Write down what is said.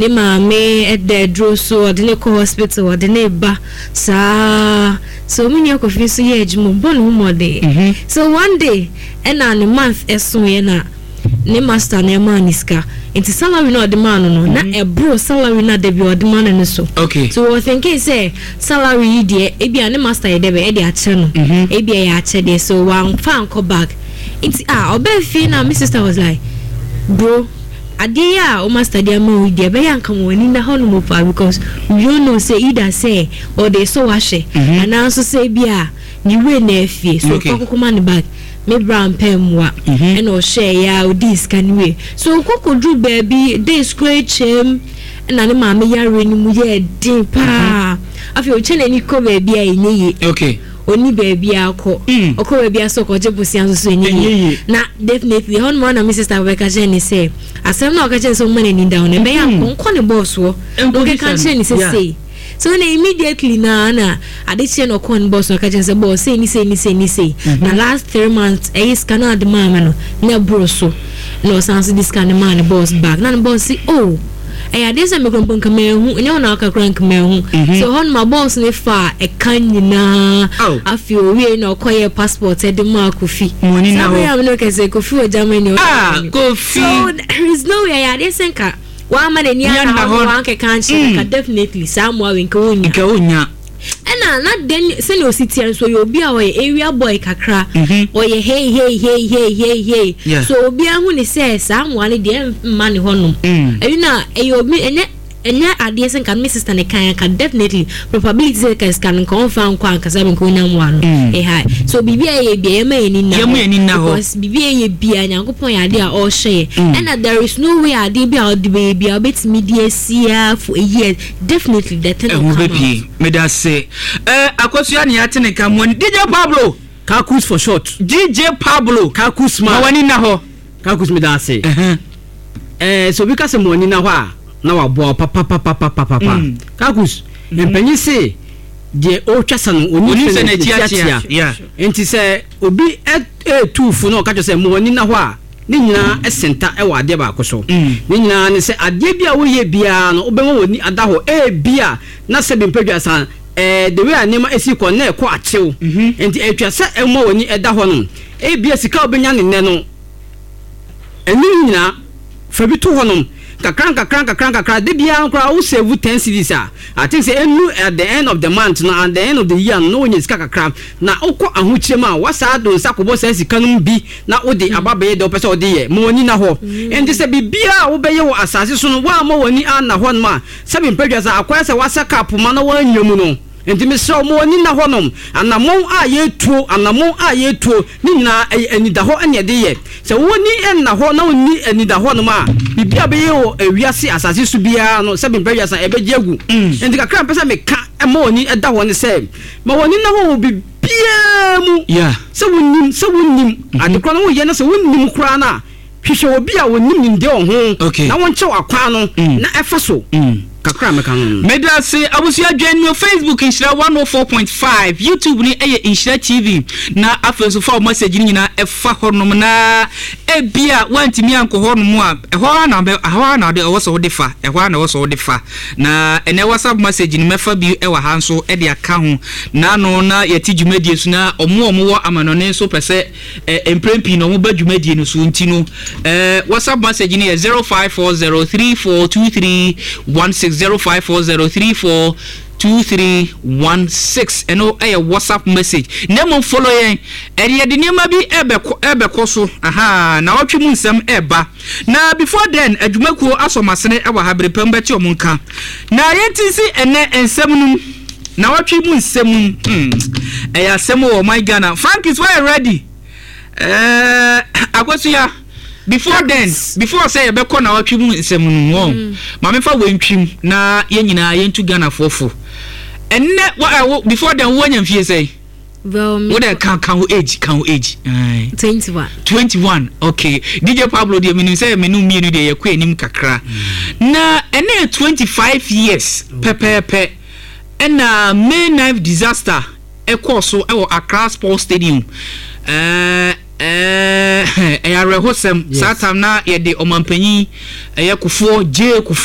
Ne maame da aduro so, ɔde no kɔ hospital, ɔde no ba saa. So me nua Kofi nso yɛ adwuma, ɔbɔ ne ho mmɔden. So one day, ɛna ne month ɛsoeɛ na ne master no ɛmaa no sika. Nti salary no a ɔde maa no no, na ɛboro salary no a da bi ɔde ma no no so. So wɔ thinking sɛ salary yi deɛ, ebia ne master yɛ dɛ bɛ ɛde akyɛ no. Ebia ɛyɛ akyɛdeɛ, so wamfa ankɔ back. Nti ah, ɔbaa fie na me sister was like, bro, Adeɛ yi a wo master de ama wo yi deɛ ɛbɛyɛ anka ma w'ani nna hɔ nom paa because we don't know sɛ either sɛ ɔde resɔ wo ahwɛ anaa nso sɛ ebi a ne werɛ na afie so ɔkɔ akɔkɔma ne bag. Me bra ampɛ mmoa ɛna ɔhwɛeɛ a ɔdii sika no wie. So ɔkɔ kɔduru baabi days koraa atwam ɛna ne maame yareɛ no mu yɛɛ den paa. Afei ɔtwa n'ani kɔ baabi a ɛnyɛ yie. Ɔnni baabi a ɔkɔ. Ɔkɔ baabi a sɛ ɔkɔgye bosea nso so ɛnyɛ yie. Na definitely ɛhɔ nom ara na me sister bɛka kyerɛ ne sɛ asɛm no a ɔka kyerɛ ne sɛ ɔmma n'ani nda hɔ no ɛbɛyɛ a ɔnkɔ ne boss hɔ na ɔnkɛka nkyerɛ ne sɛ sei. So na immediately na na ade kyeɛ na ɔkɔɔ ne boss na ɔka kyerɛ ne sɛ boss sei ne sei ne sei ne sei. Na last 3 months ɛyɛ sika no a ɔde maa me no na ɛboro so. Na ɔsan so de sika no maa ne boss back. Na ne boss se, oh, ɛyɛ adeɛ sɛ mekura mpo nka manhu, ɛnyɛ wo na waka koraa nka manhu. So hɔ nom a boss no faa ɛka nyinaa. Afei owiei na ɔkɔyɛɛ passport ɛde maa Kofi. Saa bere a me ne wo kasa yi, Kofi wɔ Germany. Ah, Kofi. So there is no way ɛyɛ adeɛ sɛ nka wamma n'ani anna hɔ na wankɛka ankyerɛ no nka definitely saa mmoa wei nka ɔnnya. Nka ɔnnya. Ɛna na den sɛnea osi teɛ nso ɔyɛ obi a ɔyɛ area boy kakra. Ɔyɛ hey hey hey hey hey hey. So obiara hu ne sɛ saa mmoa no deɛ mma ne hɔnom. Ɛno na ɛyɛ obi ɛnyɛ ɛnyɛ adeɛ sɛ nka me sister ne kan anka definitely probability sɛ nka sika no nka ɔmfa nkɔ ankasa nka onya mmoa no ɛha. So biribi a ɛyɛ bia yɛma yɛn ani nna hɔ because biribi a ɛyɛ bia Nyankopɔn yɛ adeɛ a ɔrehwɛ yɛ. Ɛna there is no way adeɛ bi a ɔde bɛyɛ bia ɔbɛtumi de asia for a year. Definitely the thing will Ɛho come out. bɛpie. Meda ase. Eh, Akosua ne yɛate ne nka mo ani. DJ Pablo! Kakus for short. DJ Pablo! Kakus Ma man. w'ani nna hɔ. Kakus, meda ase. Eh, sɛ obi ka sɛ mo ani nna hɔ a, na waboa wo papapapapapa. Kakus, mpanyin se deɛ ɔretwa sa no, onim Onim sɛ sɛ n'akyi n'akyi akyea. akyea. Nti sɛ obi ɛretu fo na ɔka kyerɛ sɛ mo ani nna hɔ a, ne nyinaa senta wɔ adeɛ baako so. Ne nyinaa ne sɛ adeɛ bi a woyɛ biara no, wobɛma w'ani ada hɔ. Ebia na sɛbi mpadwa sa, the way a nneɛma esi kɔ na ɛkɔ akyew. Nti atwa sɛ ɛma w'ani da hɔ nom. Ebia sika a wobɛnya ne nnɛ no, ɛno nyinaa fa bi to hɔnom kakra nkakra nkakra nkakra. De biara koraa wo save 10 cedis a, I think sɛ ɛnu at the end of the month no, at the end of the year no, na wonya sika kakra na wokɔ ahokyere mu a, wasaa do nsa kɔbɔ saa sika no mu bi na wode aba bɛyɛ deɛ wopɛ sɛ wode yɛ. Ma w'ani na hɔ. Nti sɛ biribiara a wobɛyɛ wɔ asase so no, woamma w'ani anna hɔ nom a, sɛbi mpadwa sɛ akɔyɛ sɛ wasa cup ma na woanya mu no. Nti mesrɛ wo, ma w'ani nna hɔnom. Anammɔn a yɛtuo, anammɔn a yɛtuo ne nyinaa ɛyɛ anidahɔ ne ɛde yɛ. Sɛ w'ani nna hɔ na wonni anidahɔ nom a, biribi a bɛyɛ wɔ ewiase asase so biara no, sɛbi mpadwa sa ɛbɛgye agu. Nti kakra a mpɛ sɛ meka ma w'ani da hɔ ne sɛ, ma w'ani nna hɔ wɔ biribiara mu. Sɛ wonim, sɛ wonnim ade korɔ no woyɛ no, sɛ wonnim koraa no a, hwehwɛ obi a onim nimdeɛ wɔ ho na wɔnkyerɛ wo akwan no na ɛfa so. Kakra a mɛka no no. Meda ase abusua. Join me wɔ Facebook, Nhyira 104.5, YouTube no ɛyɛ Nhyira TV, na afei nso fa wo message no nyinaa ɛfa hɔnom. Na ebia woantumi ankɔ hɔnom a, ɛhɔ ara na ɛhɔ ara na ɛwɔ sɛ wode fa, ɛhɔ ara na ɛwɔ sɛ wode fa. Na ɛnɛ WhatsApp message no, mɛfa bi ɛwɔ ha nso ɛde aka ho. Na no na yɛte dwumadie so na ɔmo a ɔmo wɔ amanɔne nso pɛ sɛ mprɛn pii na ɔmo ba dwumadie no so. Nti no WhatsApp message no yɛ 0540342316, 0540342316. Ɛno ɛyɛ WhatsApp message. Na mmom follow yɛn. Ɛde yɛde nneɛma bi ɛbɛkɔ so aha na ɔtwe mu nsɛm ɛba. Na before then, adwumakuo asɔmasene ɛwɔ ha bere pɛm bɛte ɔmo nka na yɛnti si ɛnɛ nsɛm no mu na ɔtwe mu nsɛm mu. Ɛyɛ asɛm wɔ ɔman Ghana. Frankis, wɔyɛ ready. Akosua, before then, before sɛ yɛbɛkɔ na ɔtwe mu nsɛm no mu wɔn maame fa wɔntwim na yɛn nyinaa yɛntu Ghanafoɔ fo ɛnnɛ wa before then, wɔanya mfie sɛn? Well, me wo dɛ ka wo age, ka wo age. 21. 21, okay. DJ Pablo deɛ, menim sɛ menu mmienu deɛ yɛkɔ anim kakra. Na ɛnɛ yɛ 25 years pɛpɛɛpɛ ɛna May 9 disaster ɛkɔɔ so ɛwɔ Accra Sports Stadium. Ɛyɛ awerɛhosɛm. Saa time na yɛde ɔmanpanyin ɛyɛ Kufuor, J. Kufuor.